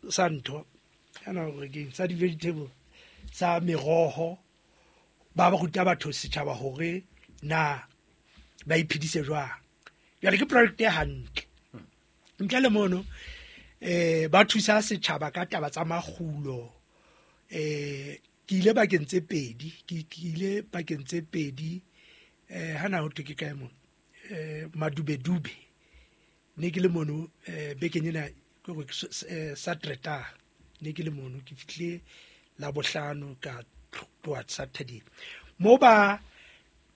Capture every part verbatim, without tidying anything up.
sa ntho kana hore ke sa di-vegetable sa meroho, ba ba ruta batho setjhaba hore na ba iphedise jwang. Jwale ke project e hantle. Ntle le mono eh ba thusa setjhaba ka taba tsa makgulo. Eh ke ile bakeng tse pedi, ke ile bakeng tse pedi eh hana ho thwe ke kae mono eh Madubedube. Ne ke le mono eh bekeng ena ke hore Saturday ne ke le mono, ke fihle la bohlano ka tloha Saturday. Mo ba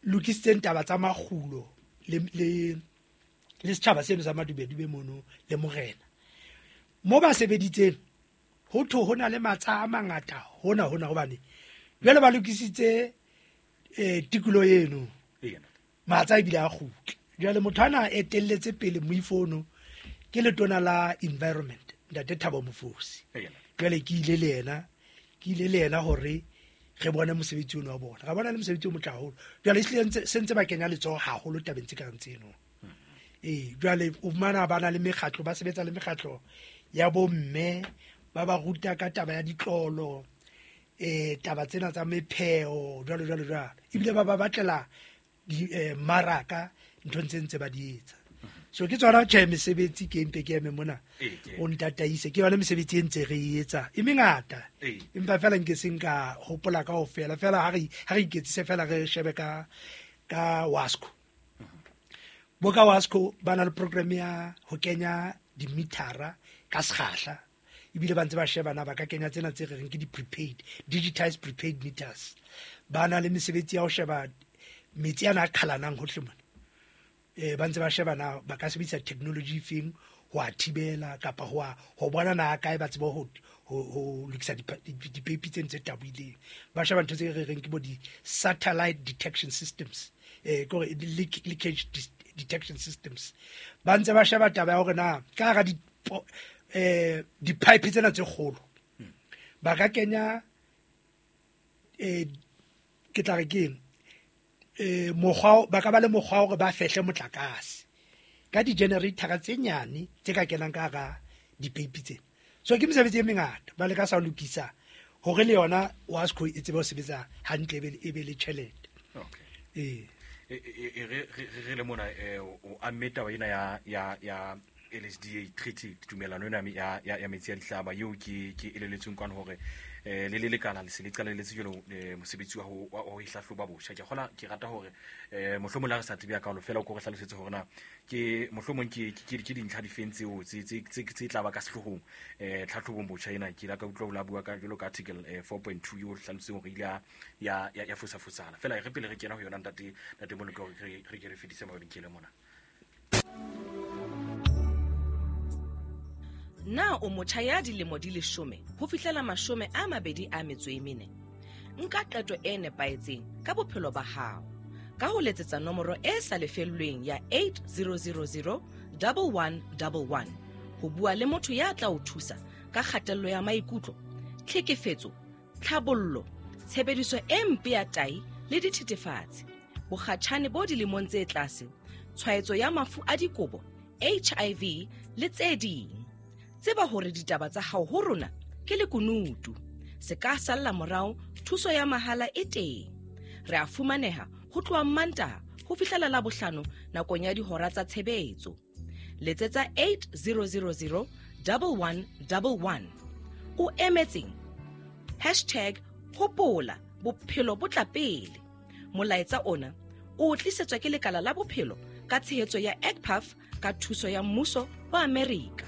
lokisitseng taba tsa makgulo le le le setjhaba seno sa Madubedube mono le morena. Mo ba sebeditseng ho thwe ho na le matsha a mangata hona hona hobane jwale ba lokisitse eh tikoloho eno. Matsa ebile a kgutla. Jwale motho ana etelletse pele moifono ke letona la environment Ntate Thabo Mofosi. Jwale ke ile le yena, ke ile le yena hore re bone mosebetsi ono wa bona. Ra bona le mosebetsi o motle haholo. Jwale ehlile se ntse ba kenya letsoho haholo tabeng tse kareng tseno. Ee, jwale o fumana ba na le mekgatlo, ba sebetsa le mekgatlo ya bomme, ba ba ruta ka taba ya ditlolo, eh taba tsena tsa mepheo, jwalo jwalo jwalo. Ebile ba ba batlela di eh, maraka nthong tse ntse ba di etsa. So ke tsona tjhe mesebetsi ke mpe ke eme mona o ntataise, ke yona mesebetsi e ntse re e etsa e mengata, empa fela nke se nka hopola kaofela fela. Ha re ha re iketsise fela re shebe ka ka Wasco. Bo ka Wasco ba na le program ya ho kenya dimitara ka sekgahla, ebile ba ntse ba sheba na ba ka kenya tsena tse re reng ke di-prepaid, digitized prepaid meters. Ba na le mesebetsi ya ho sheba metsi ana a qhalanang hohle mona. Eh ba ntse ba sheba na ba ka sebedisa technology feng ho a thibela kapa ho a ho bona na kae ba tsebe ho ho lokisa dipeipi tse ntse taboileng. Ba sheba ntho tse re reng ke bo di-satellite detection systems, eh kore leakage detection systems. Ba ntse ba sheba taba ya hore na ka hara di eh di-pipe tsena tse kgolo ba ka kenya eh ke tla re keng eh mokgwa ba ka ba le mokgwa hore ba fehle motlakase ka di-generator tse nyane tse ka kenang ka hara dipeipi tsena. So ke mesebetsi e mengata ba leka sa lokisa hore le yona Wasco e tsebe ho sebetsa hantle e be le tjhelete. Okay. Eh re re le mona o amme taba ena ya ya ya L S D A treaty, tumelano ena ya ya metsi a dihlaba eo ke ke eleletsweng kwana hore eh le le lekala le se le qalelletse jwalo mosebetsi wa ho ho hlahloba botjha. Ke kgola ke rata hore eh mohlomong la re sa tsebe ka fela o ko re hlalosetse hore na ke mohlomong ke ke ke dintlha difeng tseo tse tse tse tla ba ka sehlohong eh tlhahlobong botjha ena. Ke la ka utlwa o la bua ka jwalo ka article four point two eo hlaloseng hore ile ya ya ya fosa fosana fela. Re pele re kena ho yona ntate ntate Moleko re re ke re fedise mabenkele mona. Na o motjha ya dilemo di leshome ho fihlela mashome a mabedi a metso e mene? Nka qeto e nepahetseng ka bophelo ba hao ka ho letsetsa nomoro e sa lefellweng ya eight zero zero zero one one one one ho bua le motho ya tla o thusa ka kgatello ya maikutlo, tlhekefetso, tlhabollo, tshebediso e mpe ya tahi le dithethefatsi, bokgatjhane bo dilemong tse tlase, tshwaetso ya mafu a dikobo, H I V le tse ding. Tseba hore ditaba tsa hao ho rona ke lekunutu. Se ka salla morao, thuso ya mahala e teng. Re a fumaneha ho tloha Mantaha ho fihlela Labohlano nakong ya dihora tsa tshebetso. Letsetsa eight zero zero zero one one one one. O emetseng? Hashtag hopola bophelo bo tla pele. Molaetsa ona o tlisetswa ke lekala la bophelo ka tshehetso ya E C P A F ka thuso ya mmuso wa Amerika.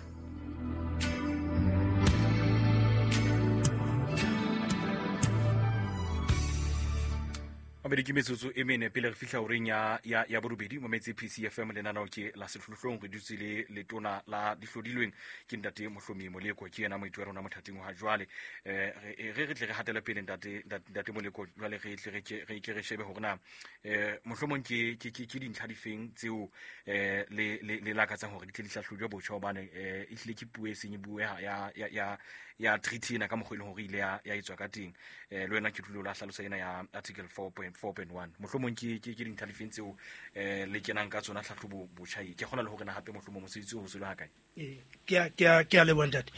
Mabedi ke metsotso e mene pele re fihla horeng ya ya ya borobedi mo metse P C F M lenaneo ke la sehlohlolong. Re dutse le letona la dihlodilweng ke ntate Mohlomi Moleko, ke yena moithuti wa rona mothating wa jwale. Eh re re tle re hatele pele ntate ntate Moleko, jwale re tle re re ke re shebe hore na eh mohlomong ke ke ke dintlha difeng tseo eh le le le lakatsang hore di tle di hlahlojwe botjha, hobane eh e hlile ke puo e seng e bueha ya ya ya ya treaty ena ka mokgwa e leng hore ile ya ya etswa ka teng. Eh le wena ke tlilo la hlalosa ena ya article four point four point one. Mohlomong ke ke ke dintlha difeng tseo eh le kenang ka tsona tlhahlobo botjha e. Ke kgona le hore na hape mohlomong mosebetsi o ho selo ha kae. Ee, ke a ke a ke a leboha ntate.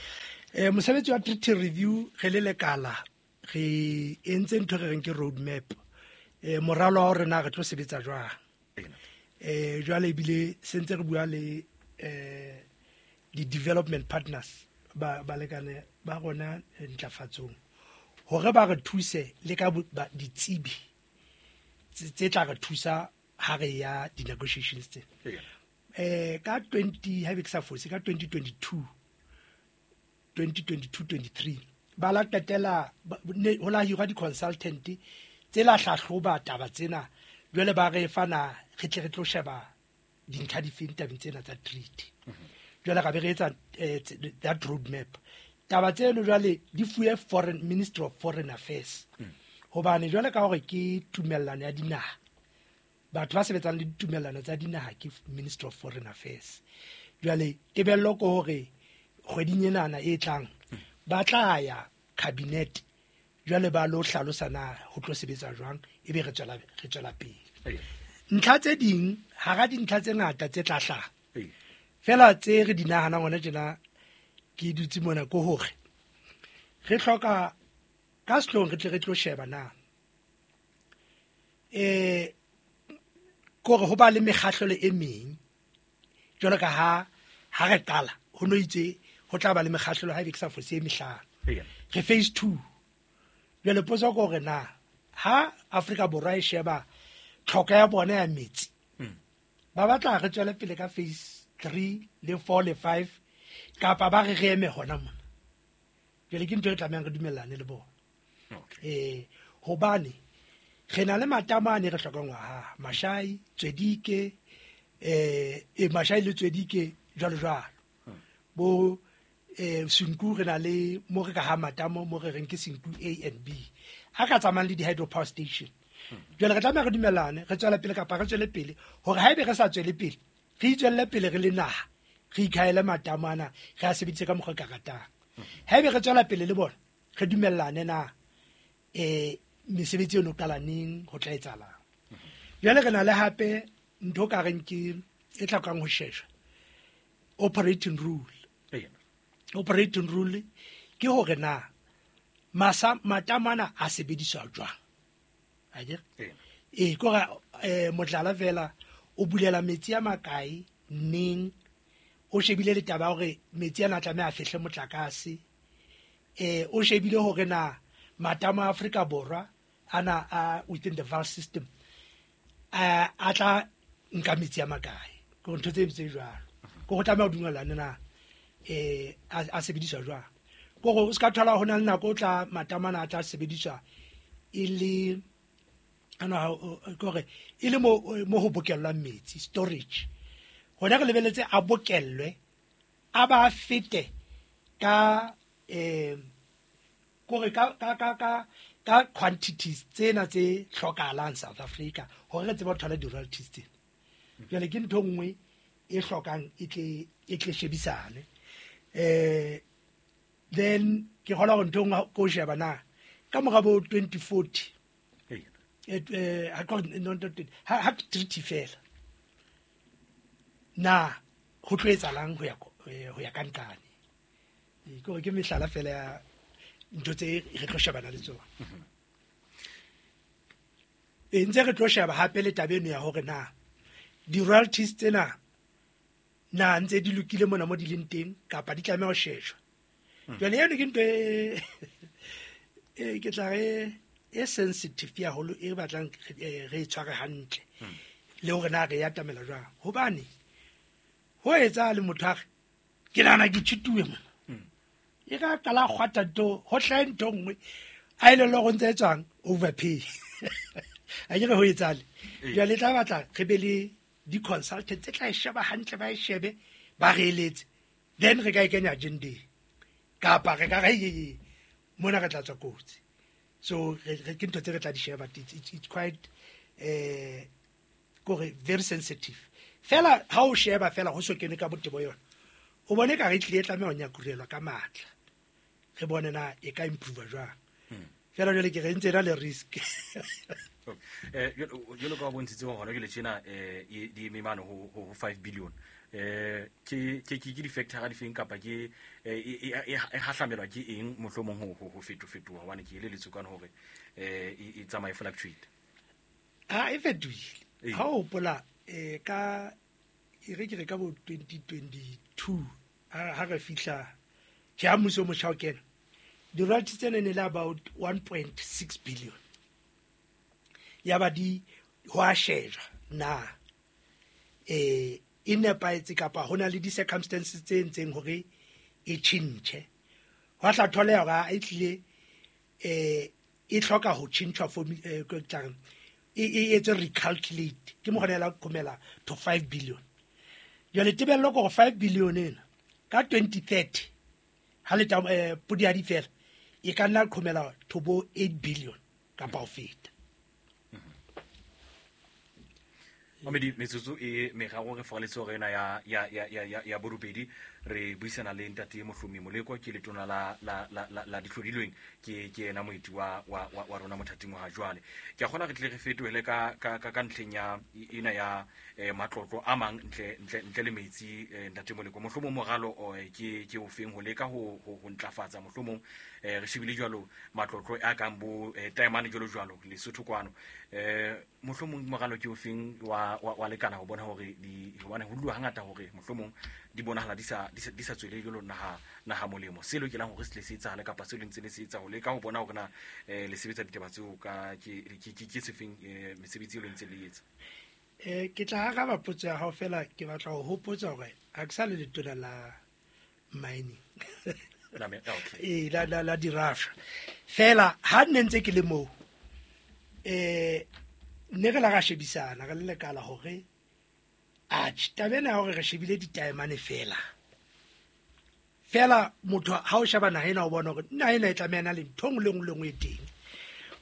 Eh mosebetsi wa treaty review re le lekala re entse ntho re reng ke road map. Eh moralo wa hore na re tlo sebetsa jwang. Eh jwale ebile sentse re bua le eh di development partners ba balekane ba rona ntlafatsong hore ba re thuse le ka ditsebi tse tla re thusa ha re ya di negotiations tse. Eh ka twenty ha be ke sa fose ka twenty twenty-two twenty twenty-two twenty-three ba la qetela ho la hirwa di consultant tse la hlahloba taba tsena jwale ba re fana re tle re tlo sheba dintlha difeng tabeng tsena tsa treaty. Jwale ka be re etsa that road map. Taba tseno jwale di fuwe foreign Ministry of Foreign Affairs. Hobane jwale ka hore ke tumellano ya dinaha, batho ba sebetsang le ditumellano tsa dinaha ke Ministry of Foreign Affairs. Jwale tebello ke hore kgweding enana e tlang ba tla ya cabinet jwale ba lo hlalosa na ho tlo sebetsa jwang ebe re tswela re tswela pele. Ntlha tse ding hara dintlha tse ngata tse tla hlaha fela tse re di nahanang hona tjena ke dutse mona ko hore re hloka ka sehloohong re tle re tlo sheba na eh kore ho ba le mekgahlelo e meng jwalo ka ha ha re qala ho no itse ho tla ba le mekgahlelo ha e be ke sa fose e mehlano. Re phase two. Jwale potso ke hore na ha Afrika Borwa e sheba tlhoko ya bona ya metsi ba batla re tswele pele ka phase three le four le five kapa ba re re eme hona mona. Jwale ke ntho e tlamehang re dumellane le bona. Eh hobane re na le matamo ane re hlokang wa ha Mashai Tswedike eh e Mashai le Tswedike jwalo jwalo bo eh Senku re na le mo re ka ha matamo mo re reng ke Senku A and B a ka tsamayang le di hydropower station. Jwale re tlameha re dumellane re tswela pele kapa re tswele pele hore haebe re sa tswele pele re itswelle pele re le naha re ikhaele matamo ana re a sebedise ka mokgwa ka ratang. Haebe re tswela pele le bona re dumellane na eh mesebetsi eno qala neng ho tla etsahalang. Jwale re na le hape ntho ka reng ke e tlhokang ho sheshwa operating rule. Operating rule ke hore na masa matamo ana a sebediswa jwang. Akere eh kore eh motlala fela o bulela metsi a makae neng o shebile le taba hore metsi ana a tlameha a fehle motlakase eh o shebile hore na matamo a Afrika Borwa ana a within the valve system a a tla nka metsi a makae ke ntho tse tse jwalo ke go tlameha o dumellane na eh a sebediswa jwang ke gore o ska thola hona le nako o tla matamo ana a tla sebediswa e le ana kore e le mo mo ho bokellwang metsi storage hona re lebeletse a bokellwe a ba fete ka eh kore ka ka ka ka ka quantities tsena tse hlokahalang South Africa hore re tsebe ho thola di royalties tsena. Jwale ke ntho nngwe e hlokang e tle e tle shebisane eh then ke hola hore ntho nngwe ko sheba na ka mora bo twenty forty eh ha ko no ha ha treaty fela na ho tlo etsahalang ho ya ho ya ka nqane ke hore ke mehlala fela ya ntho tse re tlo shebana le tsona. E ntse re tlo sheba hape le taba eno ya hore na di royalties tsena na ntse di lokile mona mo di leng teng kapa di tlameha ho shejwa. Jwale eno ke ntho e ke tla re e sensitive ya holo e batlang re e tshware hantle le hore na re ya tamela jwang hobane ho etsa le motho a re ke nahana ke tshituwe mona e ka qala kgwata ntho ho hlahe ntho nngwe a ile le go ntse tswang overpay a ke re ho etsale jwale tla batla re be le di consultant tse tla e sheba hantle ba e shebe ba re eletse then re ka e kenya agenda kapa re ka re ye mona re tla tswa kotsi. So re ke ntho tse re tla di sheba it's, it's quite eh kore very sensitive fela ha o sheba fela ho so kene ka botebo yona o bone ka re tlile tlameha ho nyakurelwa ka matla re bone na e ka improve jwang. Fela jwale ke re ntse na le risk. Eh jwalo ka bontshitse hona jwale tjena eh di eme mane ho ho five billion. Eh ke ke ke di-factor di feng kapa ke e hahlamelwa ke eng mohlomong ho ho feto fetoha hobane ke eleletswe ka hore eh e tsamaye fluctuate. Ha e fetohile. Ha o hopola eh ka e re ke re ka bo twenty twenty-two ha re fihla ke ha mmuso o motjha o kena. Di-royalties tsena ne le about one point six billion. Ya ba di ho a shejwa na eh e nepahetse kapa hona le di-circumstances tse entseng hore e tjhentjhe. Hwa tla tholeha hore e tlile eh e hloka ho tjhentjhwa for eh e e etswe recalculate ke mo gona la komela to five billion. Jwale tebello ke hore five billion ena ka twenty thirty ha le ta podi ya di fela e ka nna qhomela to bo eight billion kapa ho feta. Mamedi metsotso e meraro re foraletse hore ena ya ya ya ya ya borobedi re buisana le ntate Mohlomi Moleko ke letona la la la la dihlodilweng ke ke ena moeti wa wa wa rona mothating wa jwale. Ke a kgona re tle re fetohele ka ka ka ntleng ya ena ya matlotlo a mang ntle ntle ntle le metsi ntate Moleko mohlomong moralo ke ke o feng ho leka ho ho ntlafatsa mohlomong re shebile jwalo matlotlo a kang bo taemane jwalo jwalo Lesotho kwano eh mohlomong moralo ke o feng wa wa lekana ho bona hore di hobane ho dula hangata hore mohlomong di bonahala di sa di sa tswele jwalo naha naha molemo se lokelang hore se le se etsahale kapa se lentse le se etsa ho leka ho bona hore na le sebetsa ditaba tseo ka ke ke ke sefeng mesebetsi e lentse le etsa. Eh ke tla araba potso ya hao fela ke batla ho hopotsa hore ha ke sa le letona la mining la me okay eh la la la dirafsha fela ha nne ntse ke le moo eh ne re la ra shebisana re le lekala hore atjhe taba ena ya hore re shebile ditaemane fela fela motho ha o sheba naha ena o bona hore naha ena e tlameha na le ntho e nngwe le nngwe le nngwe e teng.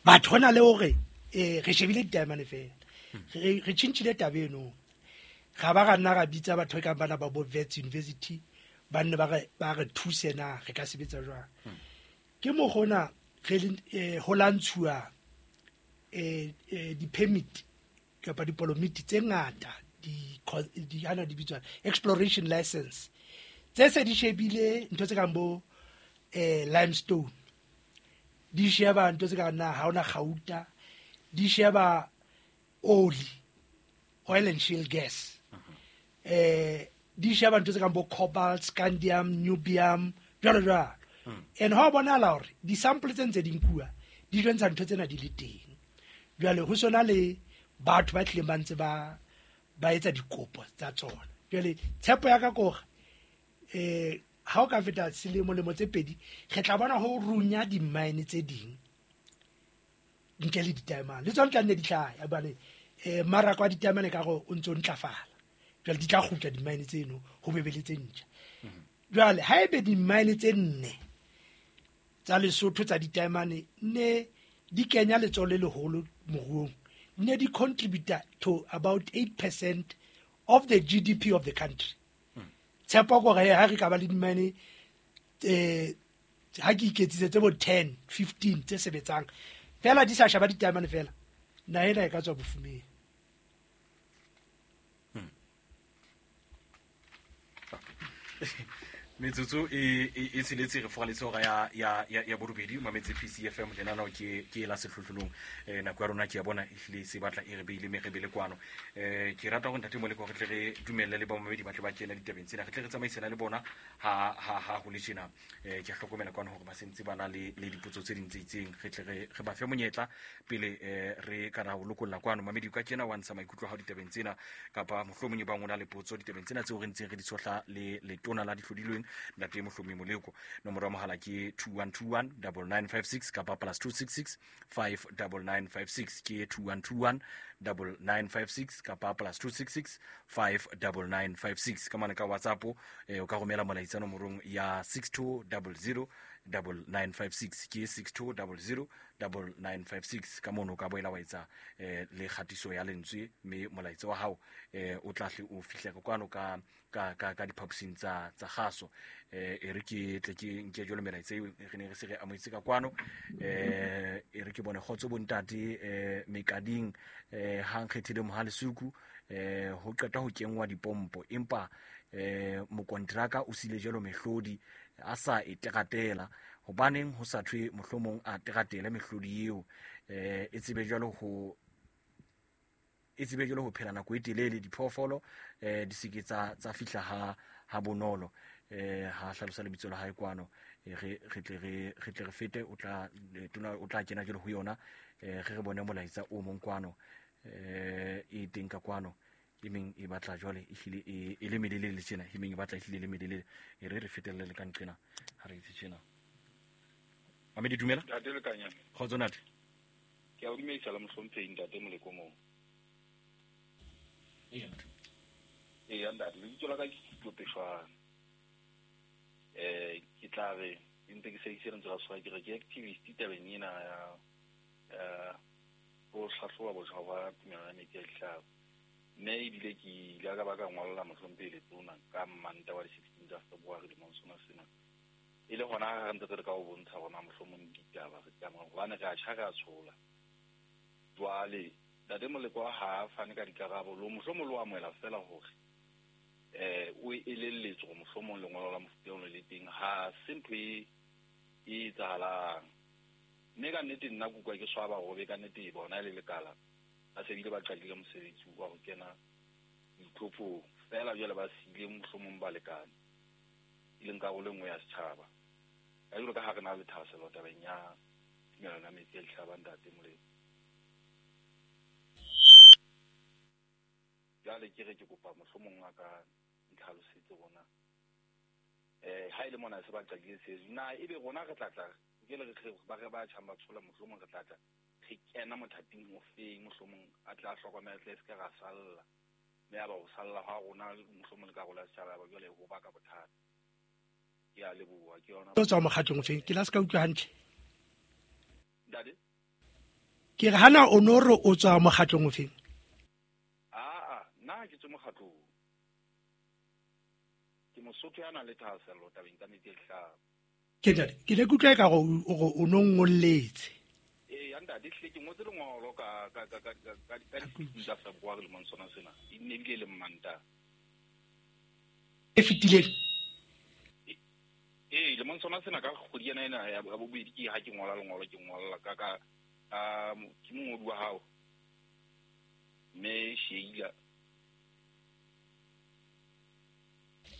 Batho hona le hore eh re shebile ditaemane fela re re tjhentjhile taba eno ga ba ra nna ra bitsa batho e kang bana ba bo Wits University ba nne ba re ba re thuse na re ka sebetsa jwang. Ke mo gona re ho lantshuwa eh di-permit kapa dipolomiti tse ngata di di ana di bitswa exploration license tse se di shebile ntho tse kang bo eh limestone di sheba ntho tse kang na ha ona gauta di sheba oli oil and shale gas eh di sheba ntho tse kang bo cobalt scandium niobium jwalo jwalo. And ha bonahala hore di sample tse ntse di nkuwa di jwentsha ntho tsena di le teng. Jwale ho sona le batho ba tlileng ba ntse ba ba etsa dikopo tsa tsona. Jwale tshepo ya ka ke hore eh ha o ka feta selemo lemo tse pedi re tla bona ho runya di-mine tse ding ntle le ditaemane le tsona tla nne di hlaya hobane eh mmaraka wa ditaemane ka gore o ntso ntlafala. Jwale di tla kgutla di-mine tseno ho bebe le tse ntjha. Jwale ha ebe di-mine tse nne tsa Lesotho tsa ditaemane ne di kenya letsoho le leholo moruong ne di contribute to about eight percent of the G D P of the country. Tshepo gore ha re ka ba le dimane eh ha ke iketsitse tse bo ten fifteen tse sebetsang fela di sa shaba ditaemane fela naha ena e ka tswa bofumeng. Metsotso e e tsheletse re foraletse hora ya ya ya borobedi mametse P C F M lenaneo ke ke la sehlohlolong eh nako ya rona ke ya bona e hlile se batla e re beile me re bele kwano eh ke rata hore ntate Moleko re tle re dumelle le ba mamedi ba tle ba kena ditabeng tsena re tle re tsamaisana le bona ha ha ha ho le tjena eh ke hlokomela kwano hore ba sentse bana le le dipotso tse ding tse itseng re tle re re ba fe monyetla pele eh re ka ra ho lokolla kwano mamedi ka kena wa ntsha maikutlo a hao ditabeng tsena kapa mohlomong ba ngona le potso ditabeng tsena tseo re ntseng re di tshohla le letona la dihlodilweng ntate Mohlomi Moleko. Nomoro ya mohala ke two one two one nine nine five six kapa plus two six six five nine nine five six ke two one two one nine nine five six kapa plus two six six five nine nine five six ka mane ka WhatsApp eh o ka romela molaetsa nomorong ya six two zero zero nine nine five six ke six two zero zero nine nine five six ka mono ka boela wa etsa eh le kgatiso ya lentswe mme molaetsa wa hao eh o tla hle o fihle ka kwano ka ka ka ka diphaposing tsa tsa kgaso. Eh e re ke tle ke nke jalo melaetsa eo re ne re se re amohetse ka kwano. Eh e re ke bone kgotso bontate eh mekading eh ha nkgethile Mohalesuku eh ho qeta ho kengwa dipompo, empa eh mokontraka o sile jalo mehlodi a sa e teratela. Hobaneng ho sa thwe mohlomong a teratele mehlodi eo eh e tsebe jalo ho e tsebe jalo ho phela nako e telele, diphoofolo eh di seke tsa tsa fihla ha ha bonolo. Eh ha hlalosa lebitso la hae kwano, re re tle re re tle re fete o tla tona o tla kena jalo ho yona. Eh re re bone molaetsa o mong kwano eh e teng ka kwano e meng e batla jwale e hlile e e le melelele tjena, e meng e batla e hlile le melelele. E re re fetelle le ka nqena ha re itse tjena. Mamedi dumela. Ntate Lekanyana. Kgotso ntate. Ke a o dumedisa la mohlomphehi ntate Moleko moo. Ee. Ee ntate, lebitso la ka ke Tito Peshwana. Eh ke tla re ntse ke se lentswe la tshwara ke re ke activist tabeng ena ya eh ho hlahloba botjha ba tumelano ya metsi a dihlaba. Mme ebile ke ile ka ba ka ngolla mohlomphehi Letona ka Manta wa di-sixteen tsa February lemong sona sena. E le hona ha re ntse re ka o bontsha hore mohlomong ditaba re tsamaya hobane re a tjha re a tshola. Jwale ntate Moleko ha a fane ka dikarabo lo mohlomong lo amohela fela hore eh o elelletswe hore mohlomong lengolo la mofuta ono le teng ha se ntho e e etsahalang. Mme ka nnete nna ke utlwa ke swaba hore ka nnete e bona e le lekala ba se bile ba qadile mosebetsi wa ho kena ditlhophong fela jwale ba siile mohlomong balekane e leng karolo e nngwe ya setjhaba. Ka jwalo ka ha re na le thahasello tabeng ya tumelano ya metsi a dihlaba ntate Moleko. Jwale ke re ke kopa mohlomong a ka ntlhalosetse rona eh ha ile mona se ba qadile se na ebe rona re tla tla ke le re ba re ba tjhang ba tshola mohlomong re tla tla re kena mothating o feng mohlomong a tla hlokomela tle se ka ra salla mme ya ba ho salla ha rona mohlomong le karolo ya setjhaba ba jwale ho baka bothata. Ke a leboha ke yona. O tswa mokgatlong o feng? Ke la se ka utlwa hantle. Ntate ke re hana o no re o tswa mokgatlong o feng? Aa nna ke tswe mokgatlong. Ke Mosotho ya nang le thahasello tabeng tsa metsi a dihlaba. Ke ntate ke ne ke utlwa eka gore o no ngolletse. Ee ntate hlile ke ngotse lengolo ka ka ka ka ka ka di-sixteen tsa February lemong sona sena. E ne ebile e le Mmantaha. E fetileng? Ee lemong sona sena ka kgwedi ena ena ya bobedi ke ha ke ngola lengolo ke ngolla ka ka ke mongodi wa hao mme Sheila.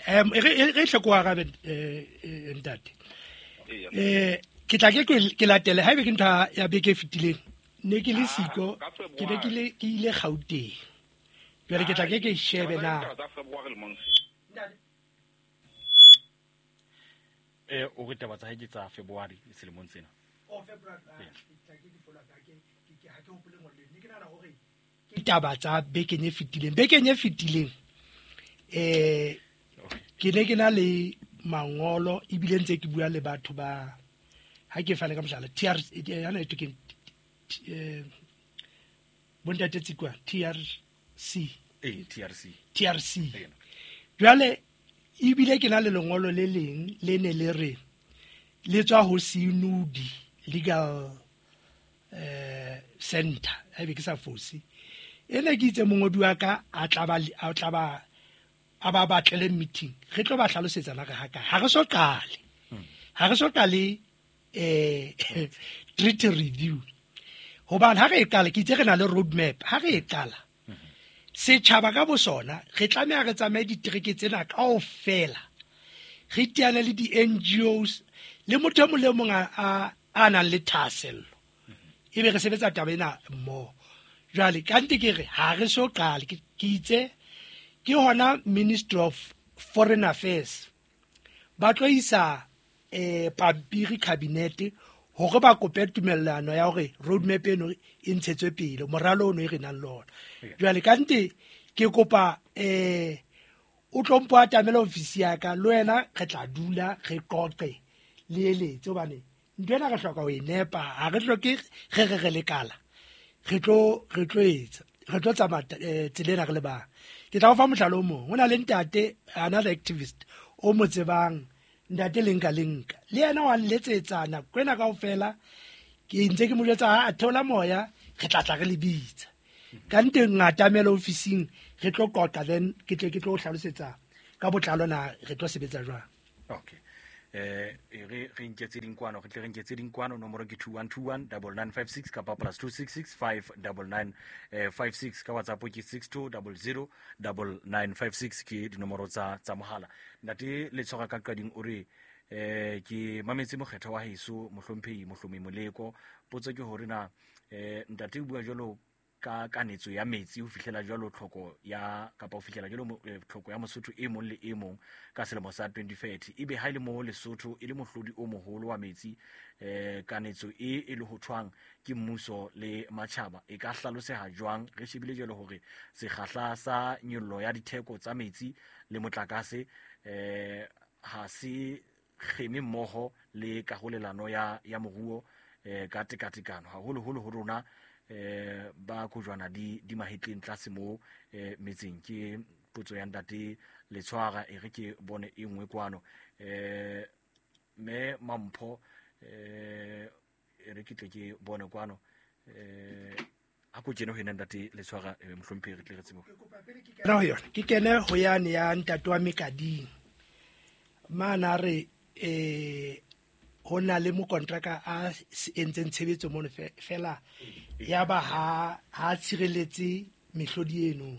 Em re re tle ko arabe eh ntate. Eh ke tla ke ke latele haebe ke ntho ya beke e fetileng ne ke le siko ke ne ke le ke ile Gauteng. Jwale ke tla ke ke shebe na. Eh o re taba tsa hae ke tsa February selemong sena. O February ke tla ke di follow ka ke ke ha ke hopole ngole ne ke nahana hore ke taba tsa bekeng e fetileng. Bekeng e fetileng eh ke ne ke na le mangolo ebile ntse ke bua le batho ba ha ke fane ka mohlala T R yana e ke eh bontate Tsikwa T R C eh T R C T R C jwale ebile ke na le lengolo le leng le ne le re le tswa ho Sinudi Legal eh Center ha be ke sa fosi ene ke itse mongodi wa ka a tla ba a tla ba a ba batlele meeting re tlo ba hlalosetsa la re ha ka ha re so qale ha re so qale eh treaty review hobane ha re e qala ke itse re na le road map ha re e qala setjhaba ka bosona re tlameha re tsamaye ditereke tsena kaofela re teane le di-N G Os le motho e mong le mong a a nang le thahasello ebe re sebetsa taba ena mmoho. Jwale kante ke re ha re so qale ke itse ke hona Ministry of Foreign Affairs ba tlo isa eh pampiri cabinet hore ba kope tumellano ya hore roadmap eno e ntshetswe pele moralo ono e re nang le ona. Jwale kante ke kopa eh o tlo mpo atamela ofisi ya ka le wena re tla dula re qoqe le eletse hobane ntho ena re hloka ho e nepa ha re hloke re re re lekala re tlo re tlo etsa re tlo tsamaya tsela ena re le bang. Ke tla o fa mohlala o mong. Ho na le ntate, another activist o mo tsebang, ntate Lenka Lenka. Le yena wa nletsetsa nako ena kaofela, ke ntse ke mo jwetsa a theola moya, re tla tla re le bitsa. Ka nte ngatamela ofising, re tlo qoqa, then ke tle ke tlo hlalosetsa ka botlalo na re tlo sebetsa jwang. Okay. Eh re re nketse dinkwano, re tle re nketse dinkwano, nomoro ke two one two one double nine five six kapa plus two six six five double nine five six, ka WhatsApp ke six two double zero double nine five six, ke dinomoro tsa tsa mohala. Ntate Letshwara ka qading o re eh ke mametse mokgetho wa heso mohlomphehi Mohlomi Moleko, potso ke hore na eh ntate o bua jwalo ka kanetso ya metsi ho fihlela jwalo tlhoko ya kapa ho fihlela jwalo tlhoko ya Mosotho e mong le e mong ka selemo sa twenty thirty, ebe ha ile mo Lesotho e le mohlodi o moholo wa metsi, eh kanetso e e le ho thwang ke mmuso le matjhaba e ka hlaloseha jwang re shebile jwalo hore sekgahla sa nyollo ya ditheko tsa metsi le motlakase eh ha se kgeme mmoho le karolelano ya ya moruo eh ka tekatekano haholoholo ho rona eh ba kojwana di di mahetleng tlase mo eh metseng. Ke potso ya ntate Letshwara, e re ke bone e nngwe kwano. Eh me Mampho eh e re ke tle ke bone kwano, eh a ko tjena ho ena ntate Letshwara, mohlomphehi re tle re tsebe. Ke ho yona ke kene ho yane ya ntate wa Mekading mana re eh ho na le mokontraka a entseng tshebetso mono fela ya ba ha ha tshireletse mehlodi eno.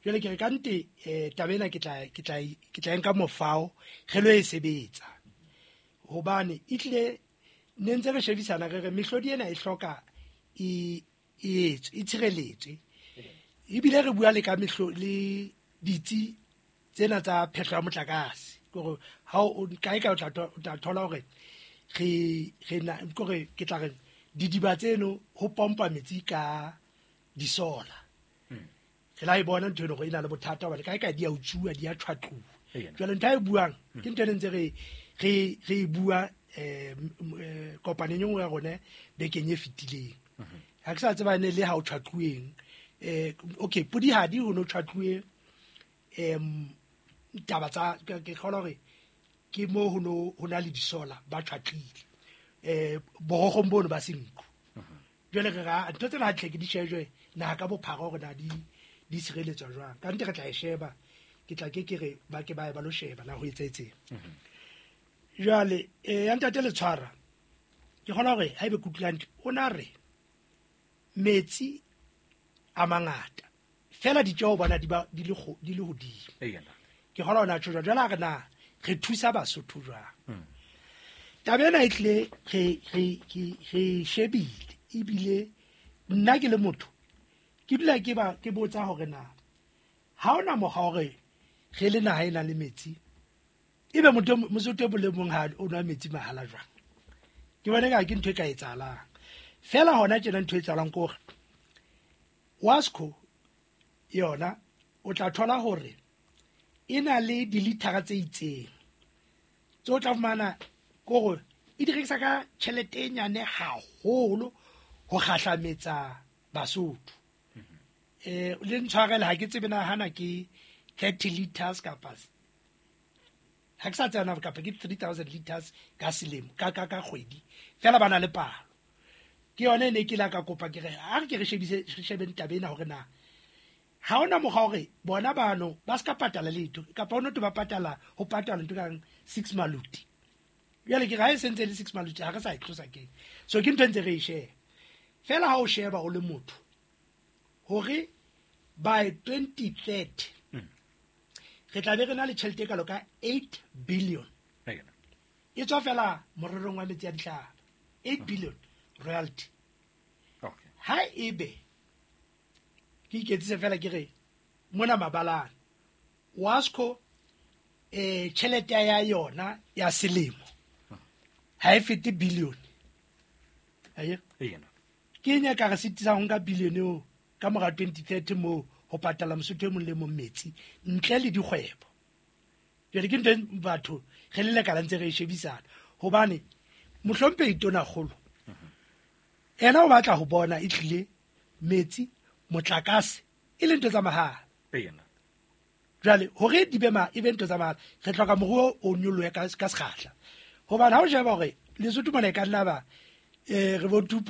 Jwale ke re ka nte eh taba ena ke tla ke tla ke tla nka mofao re lo e sebetsa, hobane e tlile ne ntse re shebisana re re mehlodi ena e hloka e e etswe e tshireletswe, ebile re bua le ka mehlo le ditsi tsena tsa phehlo ya motlakase, gore ha o kae ka o tla thola hore re re na gore ke tla re didiba tseno ho pompa metsi ka disola. Re la e bona ntho eno gore e na le bothata hobane kae kae di a utsuwa, di a tshwatluwa. Jwale ntho e buang ke ntho e ntse re re re e bua eh kopaneng e nngwe ya rona bekeng e fetileng. Ha ke sa tseba ne le ha o tshwatluweng, eh okay pudihadi ho no tshwatluwe em taba tsa ke kgolwa hore ke mo ho no ho na le disola ba tshwatlile eh borogong bono ba senku. Jwale re ra ntho tsena hantle ke di shejwe naha ka bophara hore na di di sireletswa jwang. Ka nte re tla e sheba, ke tla ke ke re ba ke ba e ba lo sheba na ho etsahetseng. Jwale eh ya ntate Letshwara ke kgolwa hore ha ebe kutlwang o na re metsi a mangata fela ditjeo bona di ba di le di le hodimo. Ke kgolwa ona tjho jwale re na re thusa Basotho jwang. Taba ena e tlile re re re shebile, ebile nna ke le motho ke dula ke ba ke botsa hore na ha ona mokgwa hore re le naha e nang le metsi ebe motho Mosotho e le mong ha o nwa metsi mahala jwang. Ke bona ka ke ntho e ka etsahalang fela hona tjena. Ntho e etsahalang ke hore Wasco yona o tla thola hore e na le dilithara tse itseng tse o tla fumana kore e di rekisa ka tjhelete e nyane haholo ho kgahlametsa Basotho. Eh le ntshwarele ha ke tsebe na hana ke thirty liters kapa ha ke sa tsena kapa ke three thousand liters ka selemo ka ka ka kgwedi fela ba na le palo. Ke yone e ne ke la ka kopa ke re ha re ke re shebise re shebe taba ena hore na ha ona mokgwa hore bona bano ba ska patala letho kapa ono to ba patala ho patala ntho kang six maluti. Jwale ke ra e sentse le six maluti ha re sa e tlosa keng. So ke ntho ntse re e sheba fela ha o sheba o le motho hore by twenty thirty re tla be re na le tjhelete e kalo ka eight billion. E tswa fela morerong wa metsi a dihlaba, eight billion royalty. Okay. Ha ebe ke iketsise fela ke re mona mabalane Wasco eh tjhelete ya yona ya selemo ha e fete billion. Aye? Ke eng e ka re sitisang ho nka billion eo ka mora twenty thirty mo ho patala Mosotho e mong le mong metsi ntle le dikgwebo. Jwale ke ntho batho re le lekala ntse re e shebisana hobane mohlomphehi Tonakgolo ena o batla ho bona e tlile metsi motlakase e le ntho tsa mahala. Pena. Jwale hore di be ma e be ntho tsa mahala, re hloka moruo o nyolohe ka ka sekgahla, hobane ha o sheba hore Lesotho mona e ka nna ba um re bo two